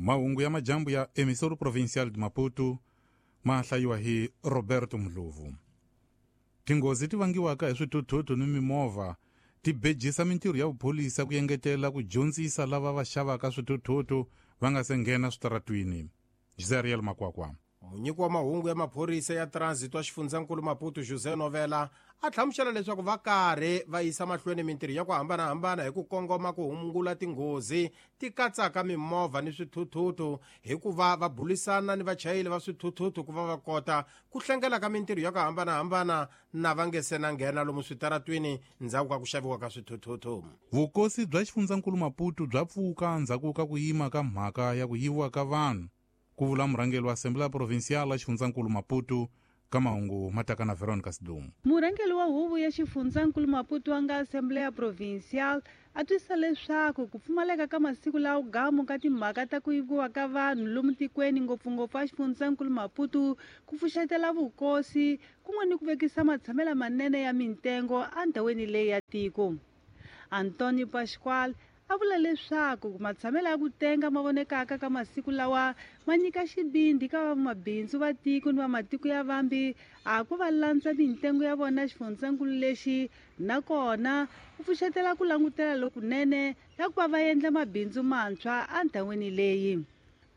Mahungu ya majambu ya Emissora Provincial de Maputo ma hlayiwa hi Roberto Mdlovu. Tinghozi ti vangiwaka hi swithuthuthu ni mimovha ti bejisa mintirho ya vupholisa ku engetela ku dyondzisa lava va xavaka swithuthuthu va nga se nghena switaratwini. Jezeriel Makwakwa. Munyiki wa mahungu ya maphorisa ya transit wa xifundzankulu Maputo José Novela a hlamusela leswaku va karhi va yisa mahlweni mintirho ya ku hambanahambana hi ku kongoma ku hungula tinghozi ti katsaka mimovha ni swithuthuthu hi ku va va bulisana ni vachayeri va swithuthuthu ku va va kota ku hlengela ka mintirho ya ku hambanahambana na va nge se na nghena lomu switaratwini ndzhaku ka ku xaviwa ka swithuthuthu. Vukosi bya xifundzankulu Maputo bya pfuka ndzhaku ka ku yima ka mhaka ya ku yiviwa ka vanhu, ku vula murhangeri wa Assembleia Provincial ya xifundzankulu Maputo ka mahungu mataka na Veronica Sidumo. Murhangeri wa huvo ya xifundzankulu Maputo wa nga Assembleia Provincial a twisisa leswaku ku pfumaleka ka masiku lawa gamu ka timhaka ta ku yiviwa ka vanhu lomu tikweni ngopfungopfu a xifundzankulu Maputo ku pfuxetela vukosi kun'we ni ku vekisa matshamelo manene ya mintengo endhawini leyi ya tiko. Antonio Pascual a vula leswaku matshamelo ya ku tenga ma vonekaka ka masiku lawa ma nyika xivindzi ka vamabindzu va tiko ni va matiko ya vambi a ku va landza mintengo ya vona xifundzankulu lexi, nakona ku pfuxetela ku langutela lokunene la ku va va endla mabindzu mantshwa endhawini leyi.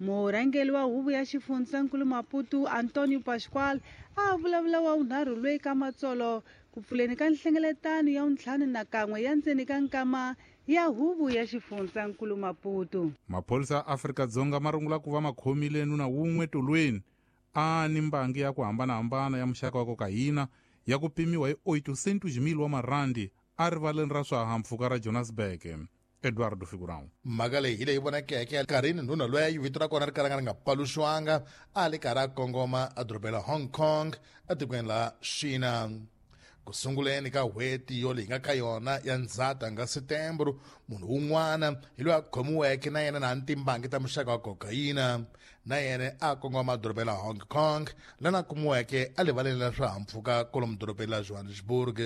Murhangeri wa huvo ya xifundzankulu Maputo Antonio Pascual a vulavula wa vunharhu loyi ka matsolo ku pfuleni ka nhlengeletano ya 51 ya ndzeni ka nkama ya huvo ya xifundzankulu Maputo. Maphorisa ya Afrika-Dzonga ma rungula ku va ma khomile nuna wun'we tolweni a ni mbangi ya ku hambanahambana ya muxaka wa kokayina ya ku pimiwa hi 800,000 wa marandi a rivaleni ra swihahampfhuka ra Johannesburg. Eduardo Figurão. Mhaka leyi hi leyi vonakeke nkarhini nuna loyi vito ra kona ri kalanga ri nga paluxiwanga a li karhi a kongoma edorobeni ra Hong Kong etikweni la China. Ku sunguleni ka n'hweti yo leyi nga ka yona ya Ndzhati nga Setembro, munhu un'wana hi loyi a khomiweke na yena na timbangi ta muxaka wa kokayina na yena a kongoma edorobeni ra Hong Kong lana a kumiweke a rivaleni ra swihahampfhuka kwalomu dorobeni ra Johannesburg.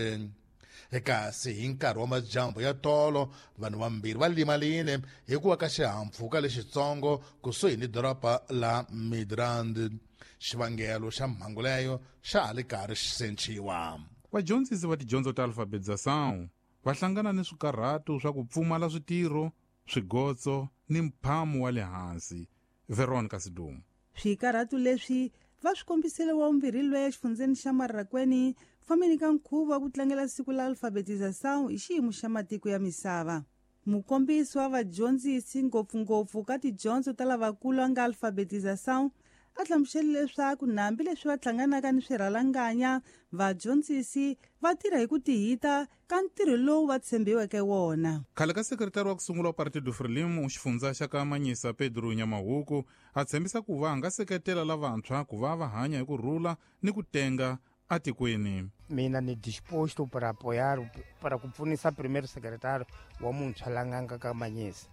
Kasi hi nkarhi wa madyambu ya tolo vanhu vambirhi va limalile hi ku wa ka xihahampfhuka lexitsongo kusuhi ni doroba la Midrand. Xivangelo xa mhangu leyo xa ha li karhi xi senciwa. Vadyondzisi va tidyondzo ta alfabetização va hlangana ni swikarhato swa ku pfumala switirho, swigotso ni mphamo wa le hansi. Veronica Sidumo. Swikarhato leswi va swi kombisile wa vumbirhi loyi exifundzeni xa Marrakwene fambeni ka nkhuvo wa ku tlangela siku la alfabetização hi xiyimo xa matiko ya misava. Mukombisi wa vadyondzisi ngopfungopfu ka tidyondzo ta lavakulu a nga alfabetização a hlamusele leswaku nambi leswi va hlanganaka ni swirhalanganya vadyondzisi va tirha hi ku tihita ka ntirho lowu va tshembiweke wona. Khale ka sekretari wa ku sungula wa Partido Frelimo xifundza xa ka Manyisa Pedro Nyamahuku a tshembisa ku va a nga seketela lavantshwa ku va va hanya hi ku rhula ni ku tenga atikweni. Mina ni disposto para apoiar, para ku pfunisa primeiro secretário wa muntshwa la nga nga ka Manyisa.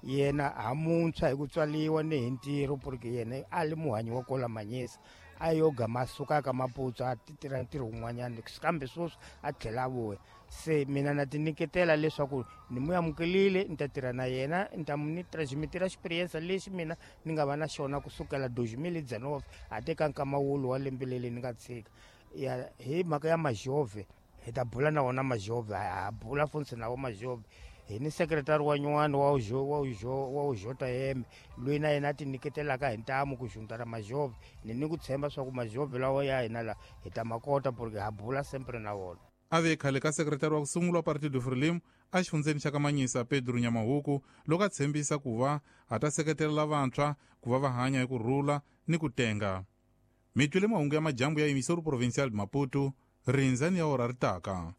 Yena ha muntshwa hi ku tswaliwa ni hi ntirho porque yena a li muhanyi wa kola Manyisa. A yo gama suka ka Maputo a tirha ntirho wun'wanyana kambe sweswi a tlhela a vuya. Se mina na ti nyiketela leswaku ni mu amukelile ni ta tirha na yena ni ta ni transmitira experience lexi mina ni nga va na xona kusukela 2019 a teka nkama wulu wa lembe leri ni nga tshika. Ya hi mhaka ya majove hi ta bula na wona majove ha bula funtsi na wo majove. Hi ni sekretari wa nyuwani wa ujo wa ujo wa ujota yeme loyi na yena a ti nyiketelaka hi ntamu ku juntara majove. Ni ku tshemba swa ku majove lawa ya hina la hi ta makota porque ha bula sempre na wona. A ve khale ka sekretari wa ku sungula wa Partido Frelimo a xifundzeni xa ka Manyisa Pedro Nyamahuku loko a tshembisa ku va a ta seketela lavantshwa ku va va hanya hi ku rhula ni ku tenga. Mi twile mahungu ya majambu ya Emissora Provincial de Maputo, rindzani ya ora ri taka.